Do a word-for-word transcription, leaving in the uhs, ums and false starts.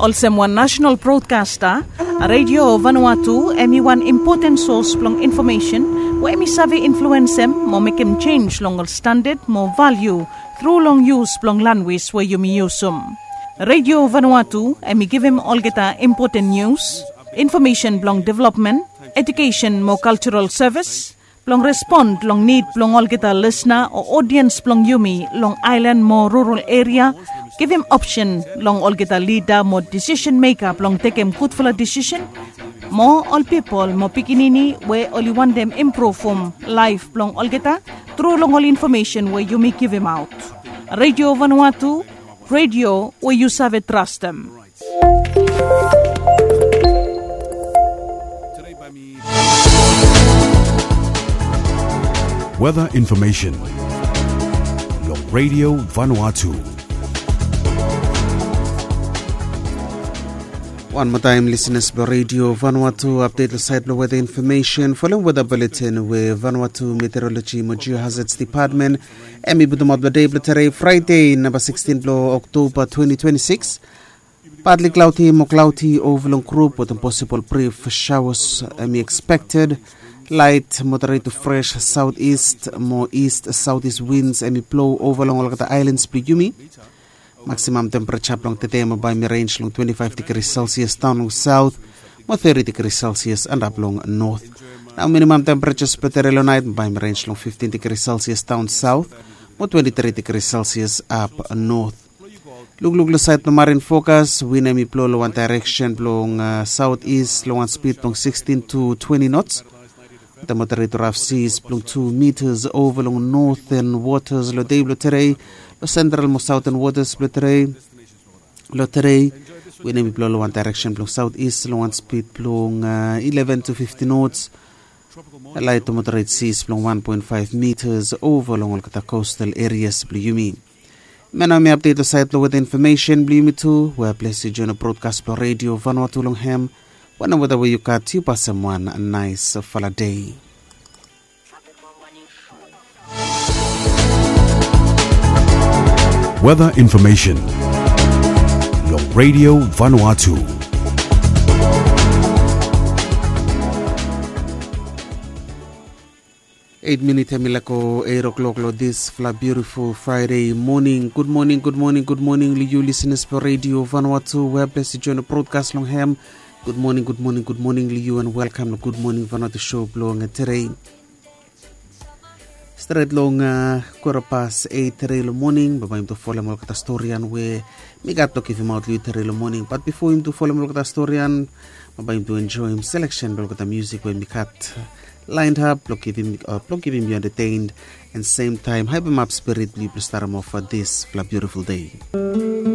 Olsem wan nasenal brodkasta, Radio Vanuatu em i wan impoten sos blong infomesen we em i save influensem mo mekem jenis long ol standad mo valiu tru long yus blong lanwis we yumi yusum. Radio Vanuatu em i givim olgeta impoten nius, infomesen blong developmen, ejukesen mo kaljaral sevis, blong respon long nid blong olgeta lisna o odiens blong yumi long aelan mo rural eria, givim opsen long olgeta lida mo disisen meka blong tekem gudfala disisen, mo ol pipol mo pikinini we oli wantem impruvum laef blong olgeta tru long ol infomesen we yumi givimaot. Radio Vanuatu, radio we yu save trastem. Weather information long Radio Vanuatu. Wan moa taem, lisenas blong Radio Vanuatu, apdet long saed blong weather information. Folem weather bulletin we Vanuatu Meteorology mo Geohazards Department em i putumaot blong dei blong tere, Fraede namba sikisin blong Oktoba twenti twenti sikis. Partly cloudy mo cloudy ova long grup wetem posibol brif shawas em i ekspekted. Laet moderet tu fres saotis mo ist saotis wins em i blo ova long olgeta aelans blong yumi. Maksimam tempereja blong tede mo bae mi renj long twenti faef digri selsias daon long saot mo teti digri selsias antap long not. Nao minimam tempereja blong tere long naet mo bae mi renj long fiftin digri selsias daon saot mo twenti tri digri selsias ap not. Lukluk long saed blong marin fokas, win em i blo long wan daereksen blong saotis long wan spid blong sikisin tu twenti nots. Wetem moderet tu raf sis blong tu mitas ova long noten wotas long dei blong tere. Long sentral mo saoten wotas blong tere, long tere, win em i blo long wan daereksen blong saotis long wan spid blong ileven tu fiftin nots. Laet tu moderet sis blong wan poen faef mitas ova long olgeta kostal erias blong yumi. Hemia nao hemi apdet long saed blong weather information blong yumi tu. We ples yu joen long brodkas blong Radio Vanuatu long hem. Wanem weta we yu gat, yu pasem wan naesfala dei. Weather information long Radio Vanuatu. Eit minit hemi laek go eit o'clock long disfala biutiful Fraede moning. Gud moning, gud moning, gud moning long yu lisenas blong Radio Vanuatu, we ples yu joen long brodkas long hem. Gud moning, gud moning, gud moning long yu, and welkam long Gud Moning Vanuatu show blong tere. Stret long kwara pas eit tere long moning, bambae yumi tu folem olgeta storian we mi gat blong givimaot long yu tere long moning. Bat bifo yumi tu folem olgeta storian, bambae yumi tu enjoem seleksen blong olgeta musik we mi gat laenap blong givim yu enterteined and semtaem haepemap spirit blong yu blong starem of disfala biutiful dei.